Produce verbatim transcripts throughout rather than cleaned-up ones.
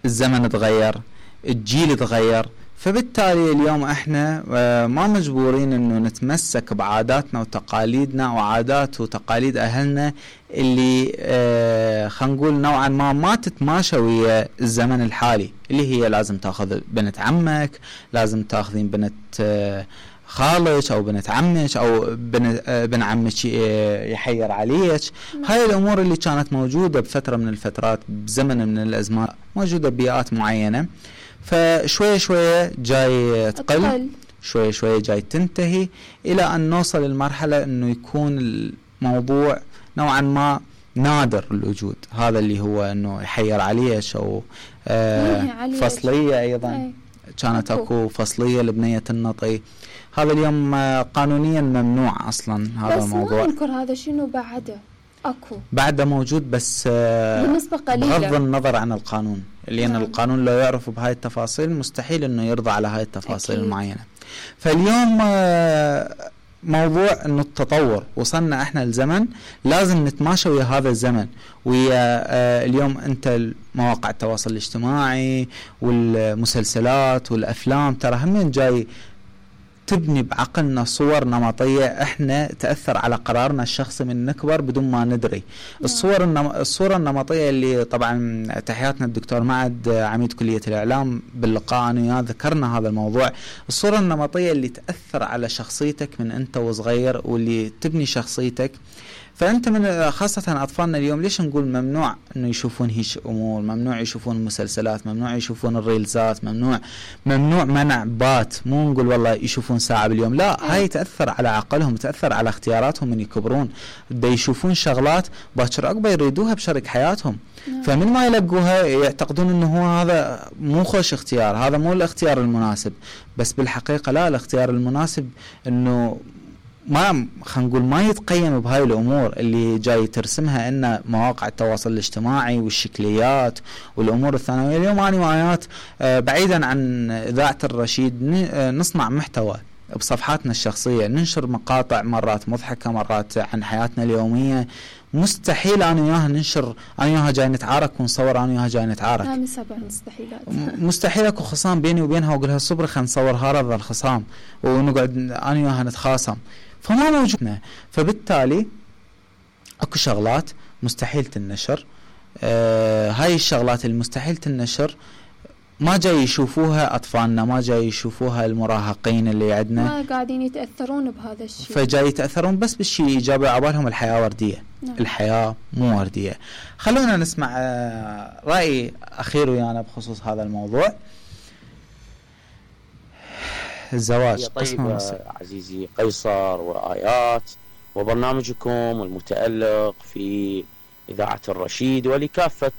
الزمن تغير، الجيل تغير، فبالتالي اليوم احنا ما مجبورين انه نتمسك بعاداتنا وتقاليدنا وعادات وتقاليد اهلنا اللي اه خلينا نقول نوعا ما ما تتماشى ويا الزمن الحالي، اللي هي لازم تاخذ بنت عمك، لازم تاخذين بنت اه خالك او بنت عمك او بن بن عمك يحير عليك. هاي الامور اللي كانت موجوده بفتره من الفترات بزمن من الازمان موجوده ببيئات معينه، فشويه شويه جاي تقل، شويه شويه جاي تنتهي، الى ان نوصل للمرحله انه يكون الموضوع نوعا ما نادر الوجود. هذا اللي هو انه يحير عليك او آه فصليه ايضا أي. كانت اكو, أكو فصليه لبنيه النطي، هذا اليوم قانونيا ممنوع اصلا هذا بس الموضوع. بس ما ننكر هذا شنو بعده اكو بعده موجود، بس بنسبة قليلة بغض النظر عن القانون، لان نعم. القانون لو يعرف بهاي التفاصيل مستحيل انه يرضى على هاي التفاصيل أكيد. المعينة. فاليوم موضوع انه التطور، وصلنا احنا لزمن لازم نتماشى ويا هذا الزمن، ويا اليوم انت مواقع التواصل الاجتماعي والمسلسلات والافلام ترى هم جاي تبني بعقلنا صور نمطية احنا تأثر على قرارنا الشخصي من نكبر بدون ما ندري. الصور النم... الصورة النمطية اللي طبعا تحياتنا الدكتور معد عميد كلية الإعلام باللقاء أنا وياه ذكرنا هذا الموضوع، الصورة النمطية اللي تأثر على شخصيتك من أنت وصغير واللي تبني شخصيتك. فأنت من خاصة أطفالنا اليوم ليش نقول ممنوع إنه يشوفون هيش أمور، ممنوع يشوفون المسلسلات، ممنوع يشوفون الريلزات، ممنوع ممنوع منع بات، مو نقول والله يشوفون ساعة باليوم، لا هاي تأثر على عقلهم، تأثر على اختياراتهم من يكبرون، بدا يشوفون شغلات باكر عقبة يريدوها بشريك حياتهم. فمن ما يلقوها يعتقدون إنه هو هذا مو خوش اختيار، هذا مو الاختيار المناسب، بس بالحقيقة لا، الاختيار المناسب إنه ما خلينا نقول ما يتقيم بهاي الامور اللي جاي ترسمها ان مواقع التواصل الاجتماعي والشكليات والامور الثانويه. اليوم انا وآيات بعيدا عن اذاعه الرشيد نصنع محتوى بصفحاتنا الشخصيه، ننشر مقاطع مرات مضحكه مرات عن حياتنا اليوميه، مستحيل انا وياها ننشر انا وياها جاي نتعارك ونصور انا وياها جاي نتعارك، لا من سبع مستحيلات مستحيل اكو خصام بيني وبينها واقول لها صبري خلينا نصور هذا الخصام ونقعد انا وياها نتخاصم، فما موجودنا. فبالتالي اكو شغلات مستحيل تنشر، آه هاي الشغلات المستحيل تنشر ما جاي يشوفوها اطفالنا، ما جاي يشوفوها المراهقين اللي عندنا، ما قاعدين يتاثرون بهذا الشيء، فجاي يتاثرون بس بالشيء الايجابي، عبالهم الحياه ورديه. نعم. الحياه مو ورديه. خلونا نسمع آه راي اخير ويانا بخصوص هذا الموضوع. الزواج طيب عزيزي قيصر وآيات وبرنامجكم المتألق في إذاعة الرشيد ولكافة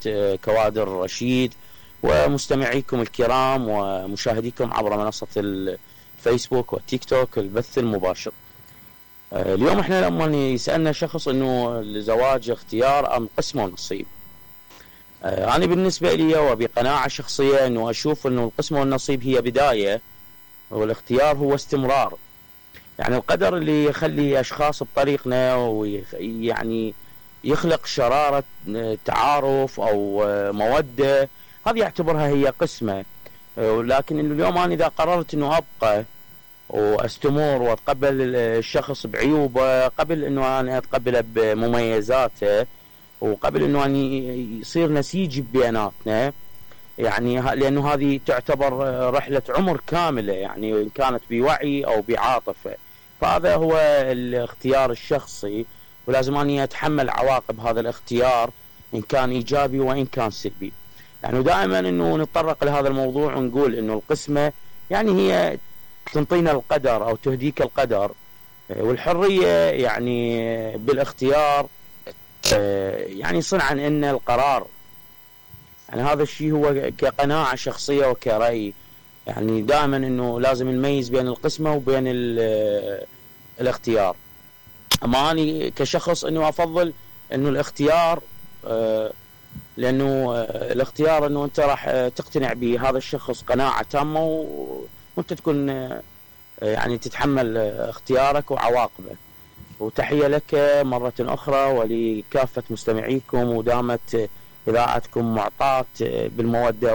كوادر الرشيد ومستمعيكم الكرام ومشاهديكم عبر منصة الفيسبوك والتيك توك البث المباشر. اليوم احنا لما يسألنا شخص انه الزواج اختيار ام قسم ونصيب، انا بالنسبة لي وبقناعة شخصية انه اشوف انه القسم والنصيب هي بداية والاختيار هو استمرار. يعني القدر اللي يخلي أشخاص بطريقنا ويعني يخلق شرارة تعارف أو مودة، هذه يعتبرها هي قسمة. ولكن اليوم أنا إذا قررت أنه أبقى وأستمر وأتقبل الشخص بعيوبه قبل أنه أنا أتقبله بمميزاته وقبل أنه أنا يصير نسيج بيناتنا، يعني لأنه هذه تعتبر رحلة عمر كاملة، يعني إن كانت بوعي أو بعاطفة، فهذا هو الاختيار الشخصي ولازم أني أتحمل عواقب هذا الاختيار إن كان إيجابي وإن كان سلبي. يعني دائما أنه نتطرق لهذا الموضوع ونقول أنه القسمة يعني هي تنطينا القدر أو تهديك القدر، والحرية يعني بالاختيار يعني صنعا أن القرار. يعني هذا الشيء هو كقناعة شخصية وكرأي، يعني دائما انه لازم نميز بين القسمة وبين الاختيار. اما أنا كشخص انه افضل انه الاختيار، آه لانه آه الاختيار انه انت راح تقتنع بهذا الشخص قناعة تامة وانت تكون آه يعني تتحمل اختيارك وعواقبه. وتحية لك مرة اخرى ولكافة مستمعيكم، ودامت إذاعتكم معطاة بالمودة